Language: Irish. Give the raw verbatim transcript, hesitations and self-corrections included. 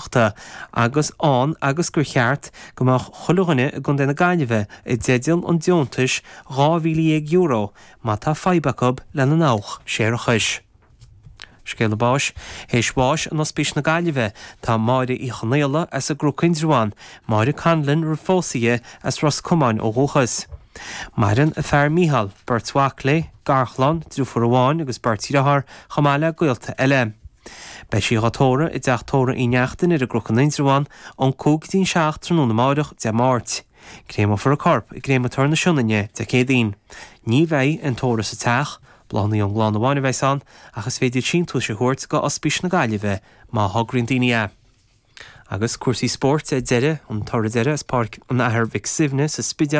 Gaeltachta agus ann agus gur cheart go mbeadh chuile dhuine i gContae na Gaillimhe i dteideal an deontais dhá mhíle dhéag euro má tá fadhb acu lena ndabhach séarachais. Scéala báis, Théis bháis in Ospís na Gaillimhe tá Máire Uí Chonaola as an gCnoc Indreabhán, Máire Conlon roimh phósadh di as Ros Comáin ó dhúchas. Maireann a fear Mícheál, beirt mhac léi, garchlann, deirfiúr amháin agus beirt dheartháir chomh maith le gaolta eile. Beidh sí á tórramh i dteach tórraimh Uí Neachtain ar an gCnoc in Indreabhán ón cúig go dtí an seacht tráthnóna amárach Dé Máirt. Créamófar a corp i gcréamatóir na Sionainne Dé Céadaoin. Ní bheidh an tórramh sa teach, bláthanna ón gclann amháin a bheas ann, ach is féidir síntiúis a thabhairt go Ospís na Gaillimhe má thograíonn daoine é. Agus cúrsaí spóirt ar deireadh an toradh deiridh as Páirc an Athar Mhic Suibhne sa Spidéal